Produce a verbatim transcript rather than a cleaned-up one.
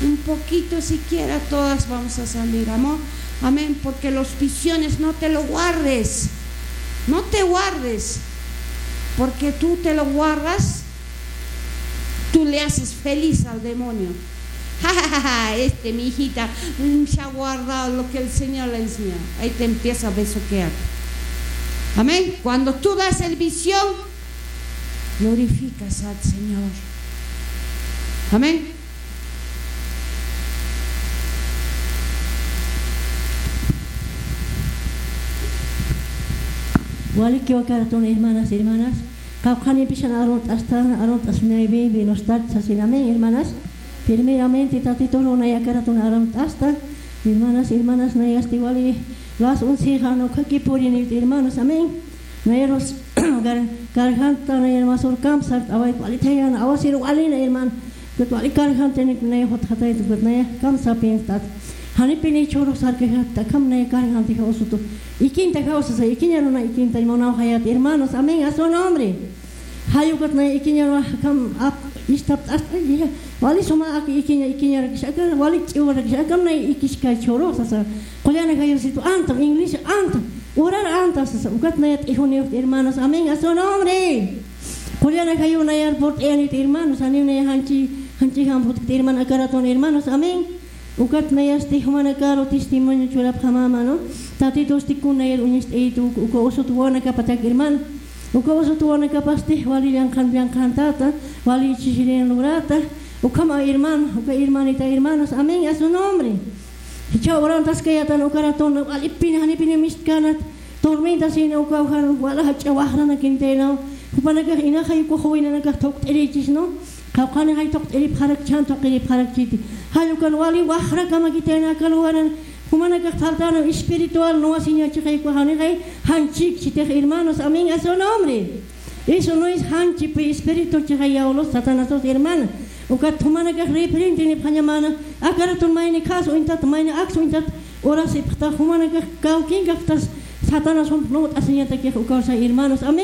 Un poquito siquiera todas vamos a salir, amor. Amén, porque los visiones no te lo guardes. No te guardes. Porque tú te lo guardas, tú le haces feliz al demonio. Ja, ja, ja, ja, este, mi hijita, mm, se ha guardado lo que el Señor le enseñó. Ahí te empieza a besuquear. Amén. Cuando tú das el visión, glorificas al Señor. Amén. Walikiw akaratun, hermanas, hermanas. Qawqhanipisan arunt'asta, arunt'asnaypi, buenas tardes, sasin, amén, hermanas. Primeramente, Tatituru nay akaratun arunt'asta. Hermanas, hermanas, nayasti wali las once jan ukhaki purinit, hermanos, amén. Nayarus kar-, karjanta, nayar masur kamsart, away, wali thayan, awasir walina, hermano. Kut wali karjantini, nay jutxatayta, kut nay kamsapintat. Janipini churu sarkajat, akham nay karjanti jawsutu. Ikinta jawsasa, ikiñaruna ikinta, hermano, hayat, hermanos, amén, a su nombre. Jayukat nay ikiñaru akham ap-, istapt'asta, ya. Wali suma ak ikiña, ikiñarakis, akham wali ch'iwrakis, akham nay ikiskay churu, sasa. Qullana jayusitu antam, inglés antam, orar antam, sasa. Ukat nay t'ijuniyuq, hermanos, amén, a su nombre. Qullana jayu nayar purt'iyanit, hermanos, janiw nay janchi, janchi jam jutkti, hermano, akaratun, hermanos, amén. Ukat nayasti jumanakaru testimonio churapxamama, ¿no? Tatitusti kun nayar uñacht'aytu, uka usut wawanakapatak, hermano. Uka usut wawanakapasti wali llankhan, llankhantäta, wali ichhisirin lurata. Ukhama, hermano, uka hermanita, hermanos, amén, a su nombre. Jichha urantaskayätan ukaratun, walipini, janipini mistkänat, tormenta sina uka ujar, wala jach'a wajrana kintaynaw. Jupanakax inaxay uka juwinanakax thuqt'irichis, ¿no? Qawqhanixay thuqt'iripxarakchhan, thuqiripxarakchiti. Jall ukan wali wajrakama kitayna aka lugaran, jumanakax faltana espiritual, nuwa siña chiqay uka janixay, janchik chitix, hermanos, amén, a su nombre. Eso no es janchipi espíritu chiqay yawlus, Satanasus, hermana. Ukat jumanakax referente nipxañamana, akaratun mayni khas uñtat, mayni aks uñtat, urasipxta, jumanakax kawkinkapxtas, Satanasump nuwt'asiñatakix ukawsa, hermanos, amén.